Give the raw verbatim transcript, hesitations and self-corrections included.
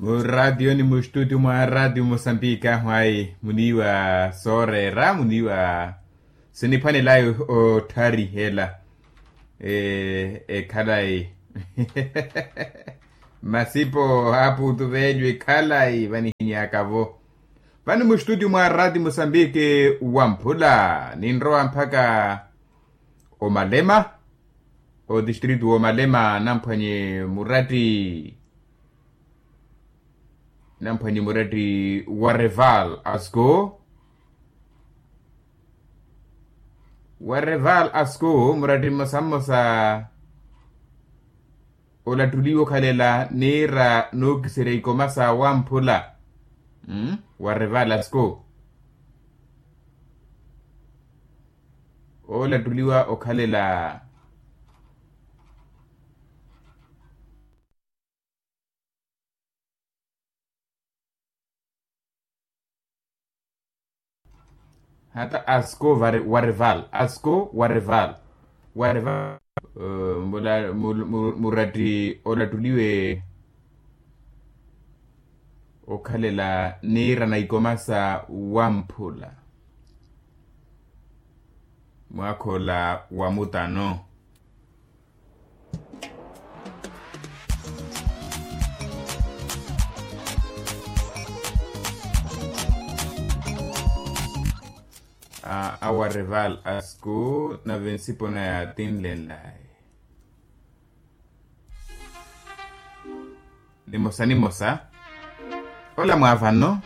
Muraatiyo ni mustutio mwa raatiyo musambiki ahu ayi muniiwa sooreera muniiwa siniphwanelayi otthariha ela ekhalayi masipo aputu veelyo ekhalayi vanihinyaka-vo. Vani mustutio mwa raatiyo musambiki wamphula ninrowa mpakha omalema otistritu woomalema namphwanye muratti namphwanye muratti wa reval asco wa reval asco muratti mmosa mmosa olattuliwa okhalela niira nookiserya ikoma sa wamphula wa reval asco olattuliwa okhalela hata asko wa reval asko wa reval wa reval muratti olattuliwe okhalela niirana ikoma sa wamphula mwaakha ola wa mutano awa reval asku nave nsipona yaatinlenlaye nimosa nimosa ola mwaavano